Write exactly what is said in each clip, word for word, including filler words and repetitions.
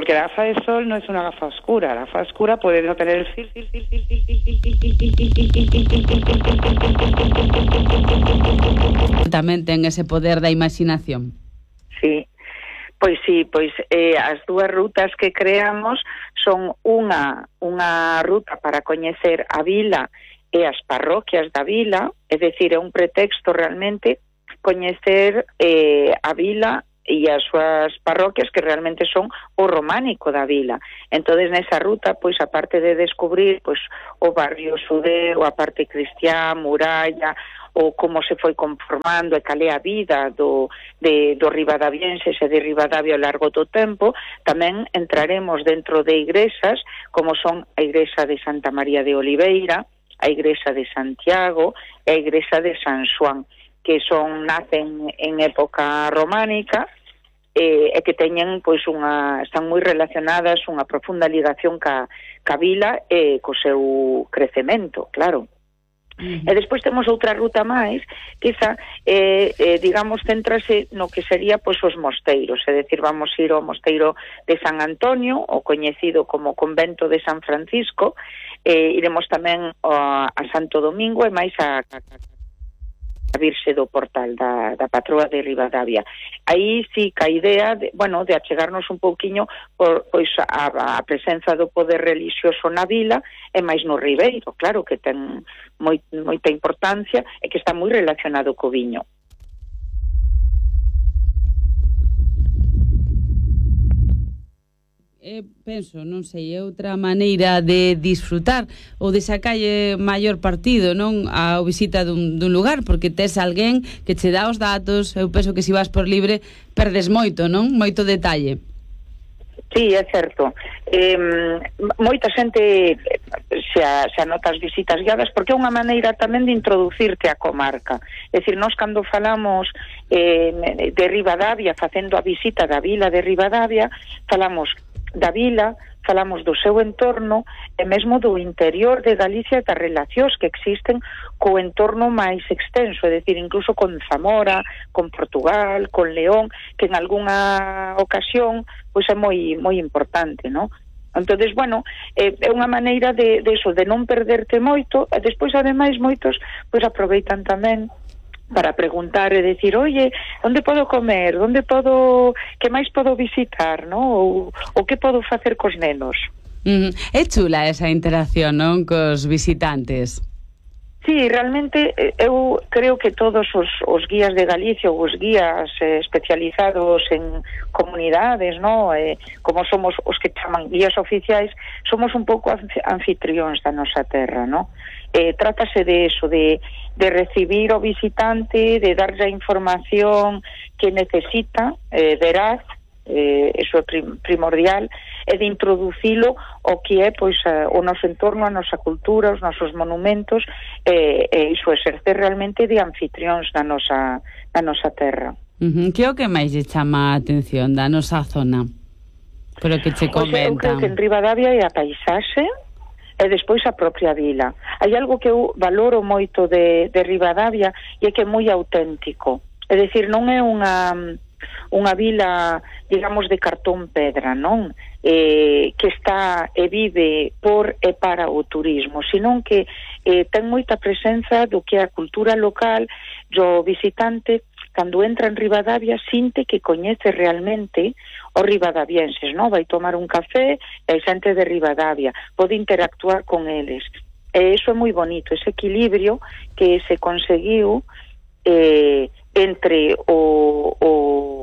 porque la gafa de sol no es una gafa oscura. La gafa oscura puede no tener el fil, fil, fil, fil, fil, fil, fil, fil, fil, fil, fil. Tamén ten ese poder da imaginación. Sí. Pois sí, pois eh, as dúas rutas que creamos son unha unha ruta para coñecer a vila e as parroquias da vila, é dicir, é un pretexto realmente coñecer eh, a vila e as súas parroquias que realmente son o románico da vila. Entonces nesa ruta, pois aparte de descubrir pois o barrio Sudeu, a parte cristiá, muralla, ou como se foi conformando e cal é a vida do, de, do ribadavienses e de Ribadavia ao largo do tempo, tamén entraremos dentro de igrexas como son a igrexa de Santa María de Oliveira, a igrexa de Santiago e a igrexa de San Xoán, que son nacen en época románica e, e que teñen pois unha están moi relacionadas, unha profunda ligación ca, ca vila e co seu crecemento, claro. Uh-huh. E despois temos outra ruta máis que esa, eh, eh, digamos, céntrase no que sería pois os mosteiros, é dicir, vamos ir ao mosteiro de San Antonio, o coñecido como convento de San Francisco, eh, iremos tamén a, a Santo Domingo e máis a, a, a Virxe do Portal da, da patroa de Ribadavia. Aí sí que a idea de, bueno, de achegarnos un pouquiño por, pois a, a presenza do poder religioso na vila e máis no Ribeiro, claro que ten moi, moita importancia e que está moi relacionado co viño. Eh, penso, non sei, é outra maneira de disfrutar ou de sacalle maior partido, non, a visita dun, dun lugar, porque tes alguén que che dá os datos. Eu penso que se vas por libre perdes moito, non? Moito detalle. Sí, é certo. Eh, moita xente se, a, se anota as visitas guiadas porque é unha maneira tamén de introducirte á comarca. É dicir, nós cando falamos eh, de Ribadavia, facendo a visita da vila de Ribadavia, falamos da vila, falamos do seu entorno e mesmo do interior de Galicia e das relacións que existen co entorno máis extenso, é dicir, incluso con Zamora, con Portugal, con León, que en algunha ocasión pois é moi moi importante, non? Entonces, bueno, é, é unha maneira de, de eso, de non perderte moito, e despois ademais moitos pois aproveitan tamén para preguntar e decir, oye, onde podo comer, onde podo, que máis podo visitar, no? Ou, ou que podo facer cos nenos. Mm, é chula esa interacción, non, cos visitantes. Sí, realmente eu creo que todos os, os guías de Galicia ou os guías eh, especializados en comunidades, no? Eh, como somos os que chaman guías oficiais, somos un pouco anfitrións da nosa terra, no? Eh, trátase de eso, de, de recibir o visitante, de darlle a información que necesita, eh, veraz, eh, eso é prim, primordial, e de introducilo o que é pois a, o noso entorno, a nosa cultura, os nosos monumentos, e, e iso exercer realmente de anfitrións da nosa, da nosa terra. Uh-huh. Que é o que máis lle chama a atención da nosa zona? Pero que che comentan. Eu creo que en Ribadavia é a paisaxe e despois a propia vila. Hai algo que eu valoro moito de, de Ribadavia e é que é moi auténtico. É dicir, non é unha unha vila, digamos, de cartón pedra, non? Eh, que está e vive por e para o turismo, senón que eh, ten moita presenza do que é a cultura local. O visitante, cando entra en Ribadavia, sinte que coñece realmente os ribadavienses, non? Vai tomar un café e hai xente de Ribadavia, pode interactuar con eles. E iso é moi bonito, ese equilibrio que se conseguiu eh, entre o, o,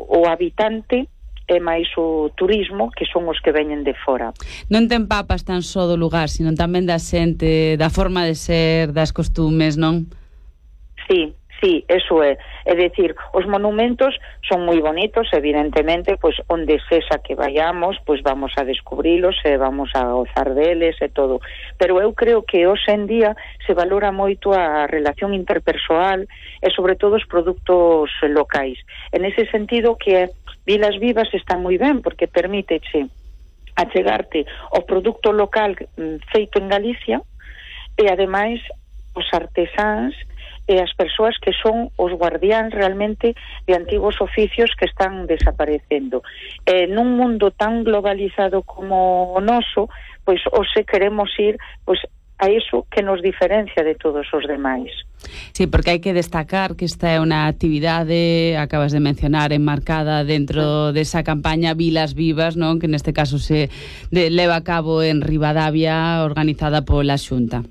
o habitante e máis o turismo, que son os que veñen de fora. Non te empapas tan só do lugar, sino tamén da xente, da forma de ser, das costumes, non? Sí, sí, eso é. É dicir, os monumentos son moi bonitos, evidentemente, pois onde sexa que vayamos, pois vamos a descubrilos e vamos a gozar deles e todo. Pero eu creo que hoxe en día se valora moito a relación interpersoal e sobre todo os produtos locais. En ese sentido que Vilas Vivas están moi ben porque permíteche achegarte ao produto local feito en Galicia e ademais os artesáns e as persoas que son os guardiáns realmente de antigos oficios que están desaparecendo. Eh, nun mundo tan globalizado como o noso, pois hoxe queremos ir pois a iso que nos diferencia de todos os demais. Sí, porque hai que destacar que esta é unha actividade, acabas de mencionar, enmarcada dentro desa campaña Vilas Vivas, non? Que neste caso se de, leva a cabo en Ribadavia, organizada pola Xunta.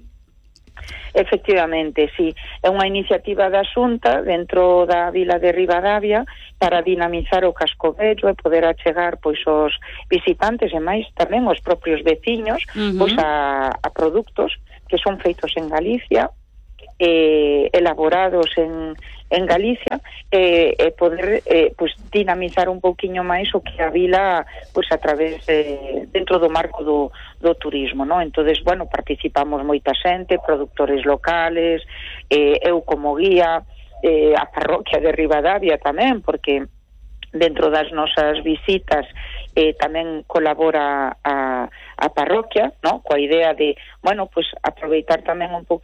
Efectivamente, sí. É unha iniciativa da Xunta dentro da vila de Ribadavia para dinamizar o casco vello e poder achegar pois os visitantes e máis tamén os propios veciños uh-huh. pois a, a produtos que son feitos en Galicia, eh, elaborados en, en Galicia, e eh, eh, poder eh, pois dinamizar un pouquiño máis o que a vila pois a través de, dentro do marco do, do turismo, non? Entonces, bueno, participamos moita xente, productores locales, eh, eu como guía, eh, a parroquia de Ribadavia tamén, porque dentro das nosas visitas eh, tamén colabora a, a parroquia, ¿no? Coa idea de, bueno, pues aproveitar tamén un pouco